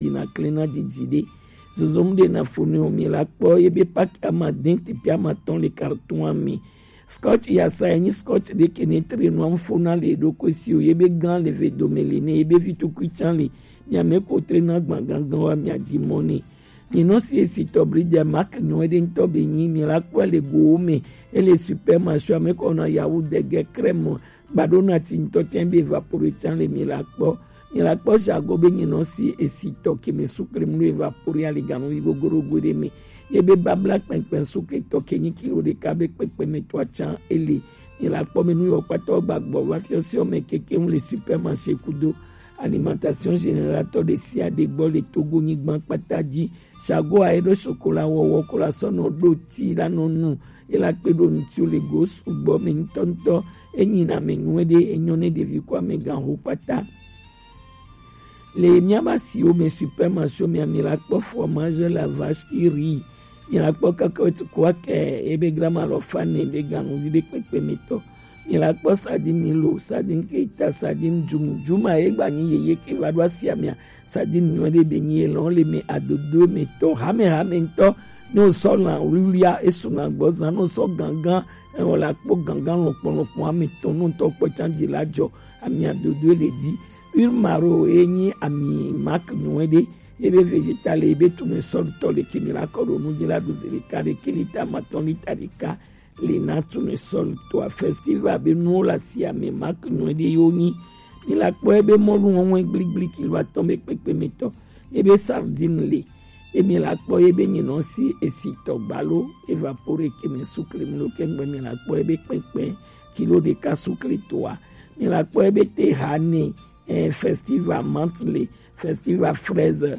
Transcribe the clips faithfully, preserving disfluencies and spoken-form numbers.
yina klena didi ɖe. Zozo mu ɖe na fo ne o mi la kpɔ ebe paki ama den tepi ama tɔn le karton ami. Scotch yasa enyi scotch ɖe ke ne tre nu am fo na le ɖo ko si o yebe gan le ve dome le ne yebe vi tukui can le. Mi ame ko tre na gban gangan wa mi adi mɔ ne. Mi nɔ si esi tɔ bri dia mak nyɔ ɖe ŋutɔ be nyi mi la kpɔ le go me. Ele supermarché ame kɔ na yawu dege crème. Gbaɖo na ti ŋutɔ tiɛ be vapore tiɛ le mi la kpɔ. Mi la kpɔ jago be nyinɔ si esi tɔ ke me sukle mu evapore ali ganu yi gogoro go ɖe me. Ye be babla kpɛnkpɛn sukle tɔ ke nyi kilo ɖeka be kpɛkpɛ me tɔ atsa ele. Mi la kpɔ me nu yɔ kpatɔ gbagbɔ va fiɔ si ɔmɛ keke ŋu le supermarché kudo alimentation générale tɔ ɖe sia ɖe gbɔ le Togo nyigban kpata dzi. Jago a eɖo sokola wɔwɔ kola sɔ nɔ ɖo ti la nɔ nu. Ela kpe ɖo ŋuti le go sugbɔ me ŋutɔŋutɔ. Enyi na me nyuie ɖe enyɔ ne ɖevi ko amegã ho kpata. Le miaba siwo me supermarché me ami la kpɔ fromage la vache qui rit. Mi la kpɔ kakɔt kua kɛ ebe grama lɔ fa ne be ganuvi be kpekpe me tɔ. Mi la kpɔ sardine milo, sardine keita, sardine jumu. Juma ye gba nyi yeye ke va ɖo asia mea. Sardine nyuie ɖe be nyi elɔn le me adodo me tɔ hame hame ŋutɔ. Ne o sɔ lã wluiwluia esu na gbɔ zã ne o sɔ gangan ewɔ la kpɔ gangan lɔkpɔ lɔkpɔ ame tɔ ne ŋutɔ kpɔ can dzi la dzɔ ami adodo le dzi. Urmaro ye nyi ami mak nyuie ɖe. Ebe vegetale ebe tournesol tɔ le kemi la kɔ ɖo nu dzi la ɖu zi ɖeka ɖe ke lita matɔn lita ɖeka. Le na tournesol toa festival be nuwo le asia me mak nyuie ɖe yo nyi. Mi la kpɔ ebe mɔlu wɔwɔe gbligbliki lo atɔn be kpekpe me tɔ. Ebe sardine le. Emi la kpɔ ebe nyinɔ si esi tɔ gbalo evapore ke me sukle mi lo ke ŋgbe mi la kpɔ ebe kpɛkpɛ kilo ɖeka sukle toa. Mi la kpɔ ebe te ha ne eh, festival menthe le, festival fraise, eh,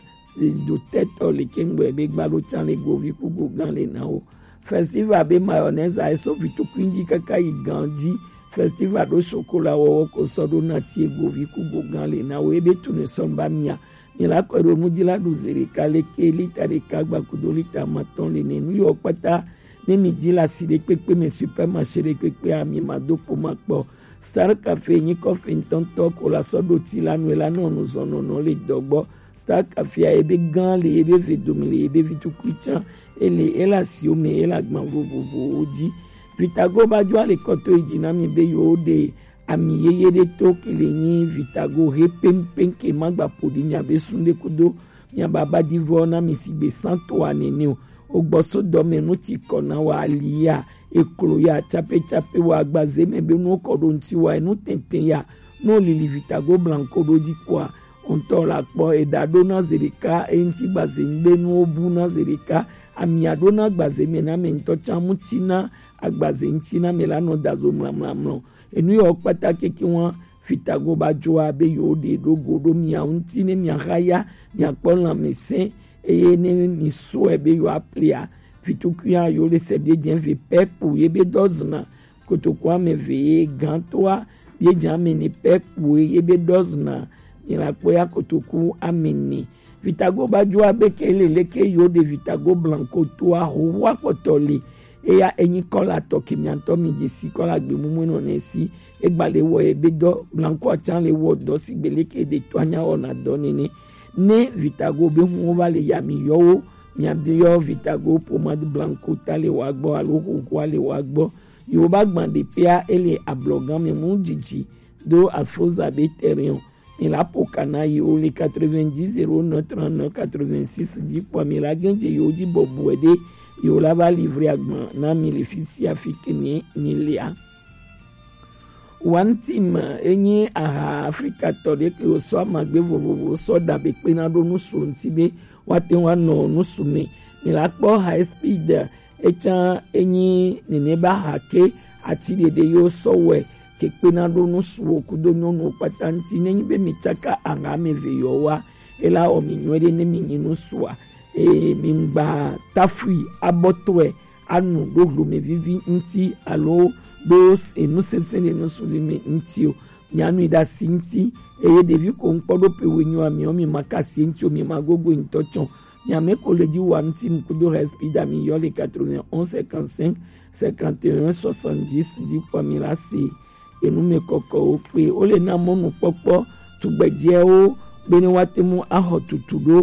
do tɛtɔ le ke ŋgbe be gbalo can le govi ku gogan le na wo. Festival be mayonnaise a eso vitukui dzi kaka yi gan dzi. Festival ɖo sokola wɔwɔ ko sɔ ɖo na tie govi ku gogan le na wo ebe tu ne sɔn ba mia. Mi la kɔ ɖo nu dzi la ɖu ze ɖeka le ke lita ɖeka gba kudo lita matɔn le ne nu yɔ kpata. Ne mi dzi la si ɖe kpekpe me supermarché ɖe kpekpe a mi ma do po ma kpɔ. Star Cafe nyi kɔfe ŋutɔŋutɔ ko la sɔ ɖo ti la nu la nɔ nuzɔnɔnɔ le dɔgbɔ. Star Cafe a ebe gã le ebe ve dome le ebe vi tukui can ele ela siwo me ela gban vovovowo dzi. Vitago ba dzo ale kɔto yi dzi na mi be yewo ɖe ami yeye ɖe to ke le nyi Vitago he pɛnpɛn ke ma gba ƒo ɖi mia be sun ɖe kudo mia baba di vɔ na mi si gbe santo a nene o. O gbɔ so dɔ me nu ti kɔ na wa ali ya eklo ya tsape tsape wa agbaze me be nu kɔ ɖo ŋti wa enu tɛntɛn ya nu lili Vitago blanco ɖo dzi kua ŋutɔ la kpɔ eɖa ɖo na ze ɖeka eŋti gbaze ŋgbe nuwo bu na ze ɖeka amia ɖo na gbaze me na me ŋutɔ tsa mu ti na agbaze ŋti na me la nɔ da zo mlamlamlɔ. Enu yawo kpata keke wa Vitago ba dzoa be yewo ɖe ɖo go ɖo mia ŋuti ne mia xa ya mia kpɔ lãmesẽ eye ne mi sɔe be yewo aplia. Vitukui ya yewo le se be dze ve pɛpo ye be dɔ zna kotoku ame ve ye gãtoa ye dze ame ne pɛpo ye be dɔ zna mi la kpɔ ya kotoku ame ne. Vitago ba dzoa be ke le leke yewo ɖe Vitago blanco toa hoho akpɔtɔ le. Eya enyi kɔla tɔ ke miantɔ mi dze si kɔla gbe mumu nɔ ne si egba le wɔ ebe dɔ blanco atsa le wɔ dɔ si gbe leke ɖe to anya wɔna dɔ nene. Ne Vitago be hu wo va le ya mi yɔ wo mia bi yɔ Vitago pomade blanco ta le wa gbɔ alo hohoa le wa gbɔ. Yewo ba gban ɖe pea ele ablɔgan me mu dzidzi do asfoza be terrain o. Mi la ƒo ka na yewo le quatre-vingt-dix zéro neuf trente-neuf quatre-vingt-six dzi kpɔa mi la gɛ̃ dze yewo dzi bɔbɔe ɖe yewo la va livre agban na mi le fi sia fi ke mi mi lia. One Team enyi aha Afrika tɔ ɖe ke wosɔ amagbe vovovo sɔ da be kpena ɖo nusu ŋuti be woate ŋu anɔ nusu me. Mi la kpɔ High Speed etsã enyi nene ba ha ke ati ɖeɖe yo sɔ wɛ ke kpena ɖo nusuwo kudo nyɔnuwo kpata ŋuti. Nenyi be mi tsaka aha ame eve yɔ wa, ela wɔ mi nyuie ɖe ne mi nyi nusua. Eye mi ŋgba tafui abɔtɔe anu ɖo hlome vivi ŋuti alo ɖo enu sesẽ ɖe nusu vi me ŋuti o. Mianui ɖe asi ŋuti eye ɖevi ko ŋkpɔ ɖo pe wenyo amiɔ mi ma kasi ŋuti o mi ma gogo ŋutɔ tsɔ. Miame ko le dzi wa ŋuti ŋku do hespi da mi yɔ le quatre-vingt-onze cinquante-cinq cinquante et un soixante-dix dzi kpɔ mi la se. Enu me kɔkɔwo kpe wo le na mɔnukpɔkpɔ tugbedzɛwo bene woate ŋu axɔ tutu ɖo